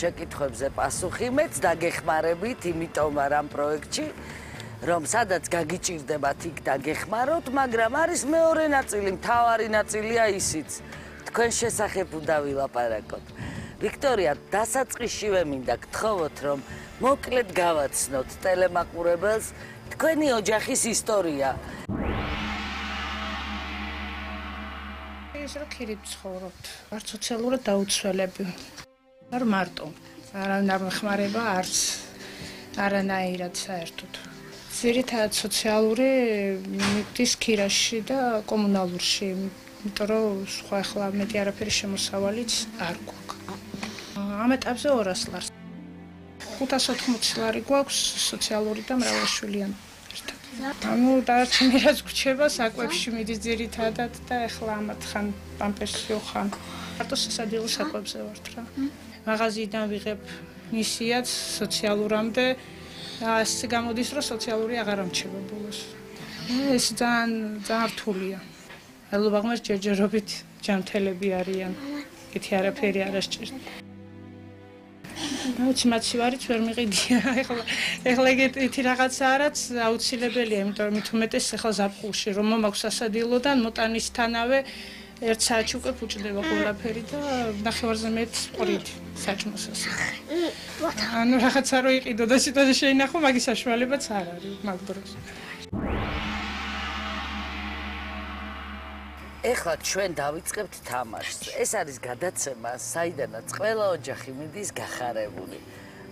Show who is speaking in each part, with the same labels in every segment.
Speaker 1: შეკითხვებზე პასუხი, მეც დაგეხმარებით, იმიტომ არ ამ პროექტში, რომ სადაც გაგიჭირდებათ იქ დაგეხმაროთ, მაგრამ არის მეორე ნაწილი, მთავარი ნაწილია ისიც. თქვენ შესახებ უნდა ვილაპარაკოთ. ვიქტორია, დასაწყისშივე მინდა გთხოვოთ, რომ მოკლედ გავაცნოთ ტელემაყურებელს თქვენი ოჯახის ისტორია.
Speaker 2: ის რა ხირით ცხოვრობთ, არ სოციალურად დაუცველები. არ მარტო, არავინ არ მეხმარება არც არანაირად საერთოდ. ძირითადად სოციალური მიგდის ქირაში და კომუნალურში, იმიტომ რომ სხვა ახლა მეტი არაფერი შემოსავალიც არ გვაქვს. ამ ეტაპზე 200 ლარს. 580 ლარი გვაქვს სოციალური და მრავალშვილიანი ერთად. ანუ დარჩენი რაც გვჩება, საკვებში მიდის ძირითადად და ახლა ამათ ხან პამპერსიო ხან. მარტო სასადილო საკვებზე ვართ რა. მაღაზიიდან ვიღებ მისიაც სოციალურამდე ეს გამოდის რომ სოციალური აღარ ამჩება ბოლოს. ეს ძალიან რთულია. ელობა ღმერთს ჯერჯერობით ჯანმრთელები არიან. ეთი არაფერი არ ასჭირს. ნაცი მაცივარიც ვერ მიყიდია. ეხლა ეთი რაღაცა არაც აუცილებელია, იმიტომ რომ მით უმეტეს ახლა ზაფხულში რომ მომაქვს სასადილოდან მოტანისთანავე 1 საათში უკვე ფუჭდება ყველაფერი და ნახევარზე მეტ ყრით საჭმოსას. ანუ რაღაცა რო იყიდო და სიტყვაზე შეინახო, მაგის საშუალებაც არ არის მაგ დროს.
Speaker 1: ეხლა ჩვენ დავიწყებთ თამაშს. ეს არის გადაცემა, საიდანაც ყველა ოჯახი მიდის გახარებული.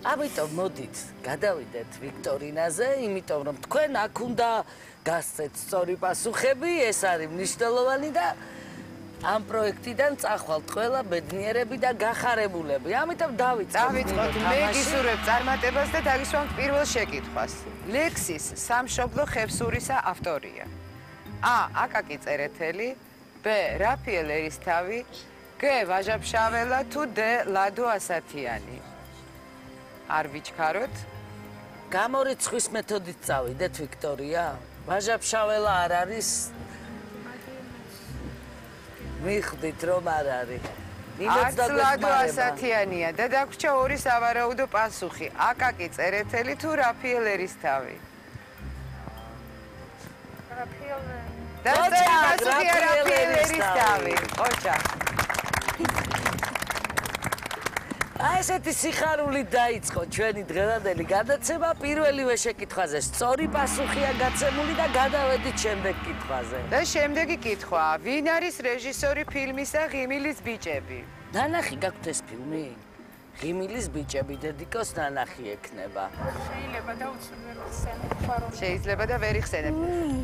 Speaker 1: ამიტომ მოდით, გადავიდეთ ვიქტორინაზე, იმიტომ რომ თქვენ აქ უნდა გასცეთ სწორი პასუხები, ეს არის მნიშვნელოვანი და ამ პროექტიდან წახვალთ ყველა ბედნიერები და გახარებულები. ამიტომ
Speaker 3: დავიწყოთ. მე გისურვებ წარმატებას და დაგისვამთ პირველ შეკითხვას. ლექსის სამშობლო ხევსურისა ავტორია. A. აკაკი წერეთელი, B. რაფიელ ერისთავი, G. ვაჟა-ფშაველა თუ D. ლადო ასათიანი. არ ვიჩქაროთ.
Speaker 1: გამორიცხვის მეთოდით წავიდეთ ვიქტორია. ვაჟა-ფშაველა არ არის. მიხდით რომ არ არის.
Speaker 3: არც ლადო ასათიანია და დაგვრჩა 2 სავარაუდო პასუხი. აკაკი წერეთელი თუ რაფიელ ერისთავი. რაფიელ ერისთავი. ოჩა.
Speaker 1: ესეთი სიხარულით დაიწყო ჩვენი დღევანდელი გადაცემა. პირველივე შეკითხვაზე სწორი პასუხია გაცემული და გადავედით შემდეგ კითხვაზე.
Speaker 3: და შემდეგი კითხვა. ვინ არის რეჟისორი ფილმისა ღიმილის ბიჭები?
Speaker 1: ნანახი გაქვთ ეს ფილმი? ღიმილის ბიჭები, დედიკოს ნანახი ექნება.
Speaker 2: შეიძლება და უცნაური
Speaker 3: შეიძლება და ვერ იხსენებ.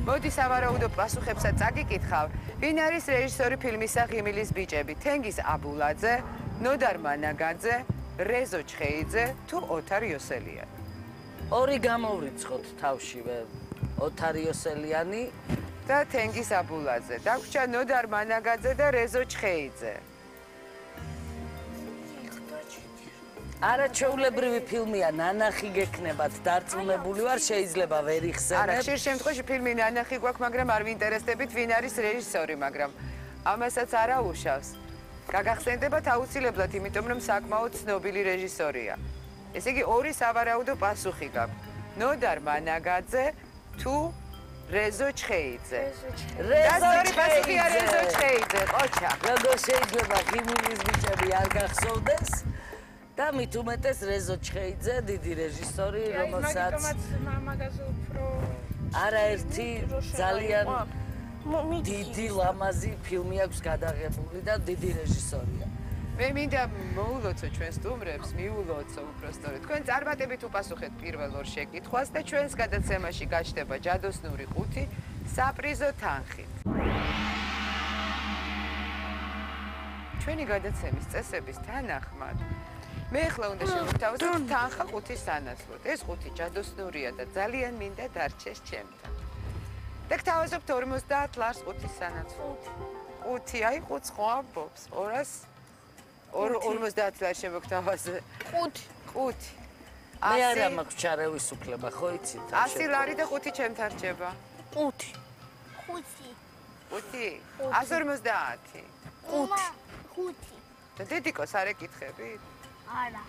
Speaker 3: მოდი სავარაუდო პასუხებსაც წაგიკითხავ. ვინ არის რეჟისორი ფილმისა ღიმილის ბიჭები? თენგიზ აბულაძე, ნოდარ მანაგაძე, რეზო ჩხეიძე თუ ოთარ იოსელიანი?
Speaker 1: 2 გამოვრიცხოთ თავშივე. ოთარ იოსელიანი
Speaker 3: და თენგიზ აბულაძე. დაგვრჩა ნოდარ მანაგაძე და რეზო ჩხეიძე.
Speaker 1: არაჩვეულებრივი ფილმია, ნანახი გექნებათ, დარწმუნებული ვარ, შეიძლება ვერ იხსენებ.
Speaker 3: არა, ხშირ შემთხვევაში ფილმი ნანახი გვაქვს, მაგრამ არ ვინტერესდებით, ვინ არის რეჟისორი, მაგრამ ამასაც არ აუშავს. გაგახსენდებათ აუცილებლად, იმიტომ რომ საკმაოდ ცნობილი რეჟისორია. ესე იგი 2 სავარაუდო პასუხი გაქვთ. ნოდარ მანაგაძე თუ რეზო ჩხეიძე. რეზო ჩხეიძე, ყოჩა.
Speaker 1: როგორ შეიძლება ღიმილის ბიჭები არ გახსოვდეს? და მით უმეტეს რეზო ჩხეიძე, დიდი რეჟისორი, რომელსაც
Speaker 2: მაგაზე უფრო
Speaker 1: არაერთი ძალიან დიდი ლამაზი ფილმი აქვს გადაღებული და დიდი რეჟისორია.
Speaker 3: მე მინდა მოულოცო ჩვენ სტუმრებს, მიულოცო უბრალოდ. თქვენ წარმატებით უპასუხეთ პირველ 2 შეკითხვას და ჩვენს გადაცემაში გაჩნდება ჯადოსნური 5 საპრიზო თანხით. ჩვენი გადაცემის წესების თანახმად მე ახლა უნდა შევთავაზოთ თანხა 5 სანაცვლოდ. ეს 5 ჯადოსნურია და ძალიან მინდა დარჩეს ჩემთან. და გთავაზობთ 50 ლარს 5 სანაცვლოდ. 5, აი 5 ხო ამბობს. 50 ლარს შემოგთავაზე. 5.
Speaker 1: მე არა მაქვს ჩარევის უფლება, ხო იცით?
Speaker 3: 100 ლარი და 5 ჩემთან რჩება.
Speaker 4: 5.
Speaker 3: 5. 150.
Speaker 4: 5.
Speaker 3: და დედიკოს არ ეკითხებით?
Speaker 4: არა.